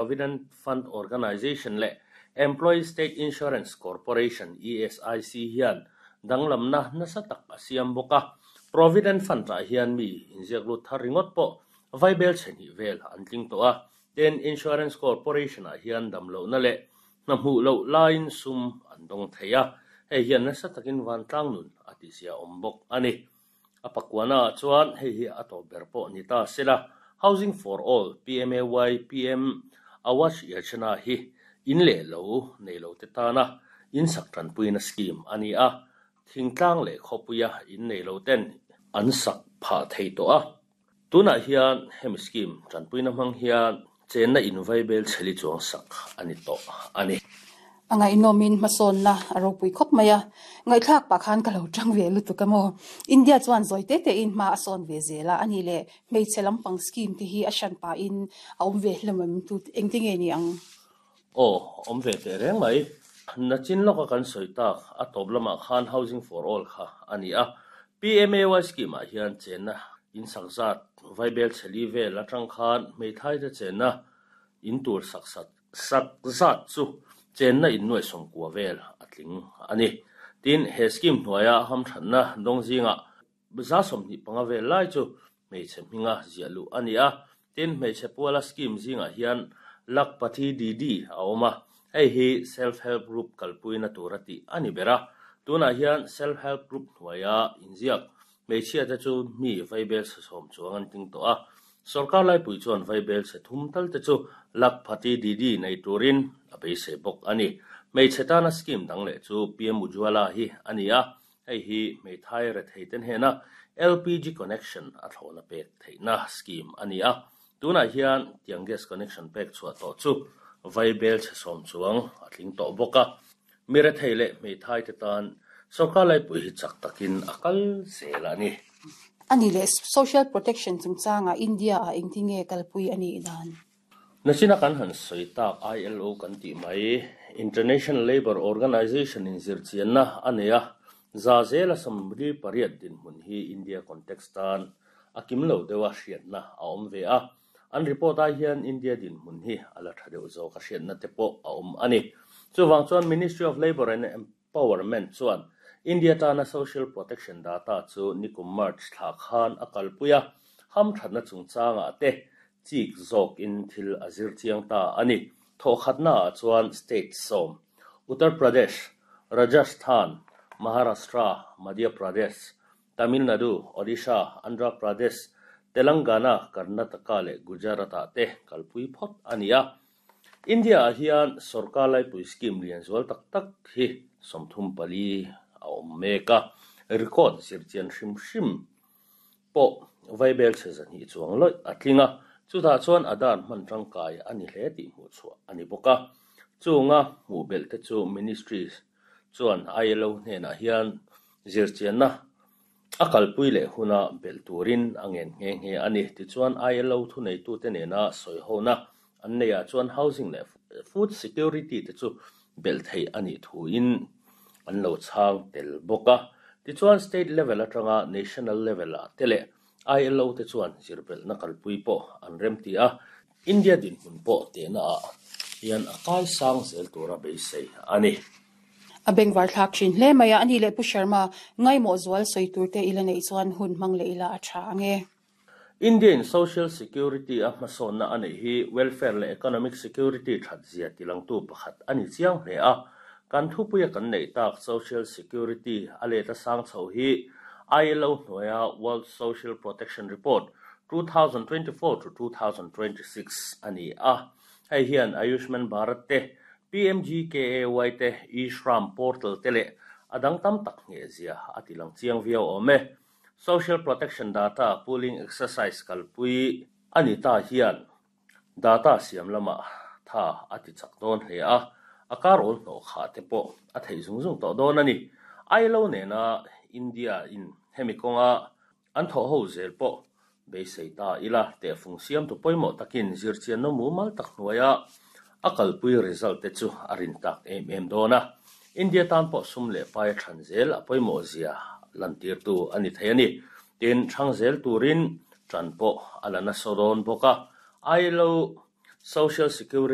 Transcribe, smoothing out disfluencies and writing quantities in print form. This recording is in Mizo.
Provident Fund Organisation leh Employee State Insurance Corporation, ESIC, hian danglamna nasa tak a siam bawk a. Provident Fund-ah hian mi inziak lut thar ringawt pawh vaibel chhe hnih vel an tling tawh a. Tin, Insurance Corporation-ah hian damlohna leh hna hmuh loh laiin sum an dawng thei a, hei hian nasa takin vantlang nun a tizia awm bawk a ni. A pakuana ah chuan hei hi a tawp ber pawh ni ta sela, Housing for All, PMAY, PM Awas Yojana hi in leh lo nei lo te tana in sak tanpuina scheme a ni a, thingtlang leh khawpuia in nei lo ten an sak phah thei tawh a. Tunah hian hemi scheme tanpuina hmang hian chenna in vaibel chheli chuang sak a ni tawh a ni. A ngaihnawmin hmasawnna a ropui khawp mai a, ngaihthlak pah khan ka lo tang ve lutuk a maw. India chuan zawi te tein hma a sawn ve zel a, a nih leh hmeichhe lampang scheme te hi a hran pahin a awm ve hlawm em tu engti nge ni ang? Aw, awm ve teh reng mai. Nachin lawka kan sawi tak a tawp lamah khan Housing for All kha a ni a. PMAY scheme ah hian chenna in sak zat vaibel chheli vel atang khan hmeithai te chenna in tur sak sat sak zat chu chenna in nuai sawmkua vel a tling a ni. Tin, he scheme hnuaia hamthatna dawng zingah 25% vel lai chu hmeichhe hminga ziah luh a ni a. Tin, hmeichhe puala scheme zingah hian Lakhpati Didi a awm a, hei hi Self Help Group kalpuina tura tih a ni ber a. Tunah hian Self Help Group hnuaia inziak hmeichhiate chu mi vaibel chhe sawm chuang an tling tawh a. Sorkar laipui chuan vaibel chhe thum tal te chu Lakhpati Didi nei turin a beisei bawk a ni. Hmeichhe tana scheme dang leh chu PM Ujjwala hi a ni a, Hei hi hmeithai retheite hnena LPG connection a thlawhna pek theihna scheme a ni a. Tunah hian tiang gas connection pek chhuah tawh chu vaibel chhe sawm chuang a tling tawh bawk a. Mi rethei leh hmeithai te tan sorkar laipui hi chak takin a kal zel a ni. A nih leh social protection chungchangah India-ah engtinge kalpui a nih dan? Nachina kan han sawi tak ILO kan tih mai, International Labour Organization in zirchianna a nei a, za zela 38 dinhmun hi India context tan a kim lo deuha hriatna a awm ve a. An report ah hian India dinhmun hi a la tha deuh zawk a hriatna te pawh a awm a ni. Chuvang chuan Ministry of Labour and Empowerment chuan India tana social protection data chu nikum March thla khan a kalpui a, hamthatna chungchangah te chik zawkin thil a zir chiang ta a ni. Thawhkhatnaah chuan state sawm, Uttar Pradesh, Rajasthan, Maharashtra, Madhya Pradesh, Tamil Nadu, Odisha, Andhra Pradesh, Telangana, Karnataka leh Gujarat-ah te kalpui phawt a ni a. India-ah hian sorkar laipui scheme lian zual tak tak hi 34 a awm mek a, record zirchian hrim hrim pawh vaibel chhe 200 chuang lawih a tling a, chutah chuan Aadhaar hman tangkai a ni hle tih hmuh chhuah a ni bawk a. Chunga hmuh belh te chu Ministry chuan ILO hnenah hian zirchianna A kalpui leh huna belh turin a ngen nghe nghe a ni. Tichuan, ILO thuneitute nena sawihona an neiah chuan housing leh food security te chu belh theih a nih thuin an lo chhang tel bawk a. Tichuan, state level atanga national level ah te leh ILO te chuan zirbelhna kalpui pawh an remti a. India dinhmun pawh tehna ah hian a kai sang zel tura beisei a ni. A bengvar thlak thin hle mai a, a nih leh Pu Sharma, ngaimawh zual sawi tur te ila neih chuan hun hmang leh ila a tha ang e. India in social security a hmasawnna a neih hi welfare leh economic security that zia tilangtu pakhat a ni chiang hle a. Kan thupuia kan neih tak social security a let a sang chho hi ILO hnuaia World Social Protection Report 2024 to 2026 a ni a. Hei hian Ayushman Bharat te, PMGKAY te, e-Shram portal te leh a dang tam tak nghehzia a ti lang chiang viau awm e. Social Protection Data Pooling Exercise kalpui a ni ta hian data siam lamah tha a ti chak dawn hle a, a kar awl hnawh khah te pawh a theih zung zung tawh dawn a ni. ILO nena India in hemi kawnga An thawh ho zel pawh beisei ta ila, tehfung siamtu pawimawh takin zirchianna mumal tak hnuaia a kalpui result te chu a rin tak em em dawn a. India tan pawh sum leh pai a thlan zel a pawimawh zia lantirtu a ni thei a ni. Tin, thlang zel turin tan pawh a la nasa dawn bawk a. ILO. Social Security.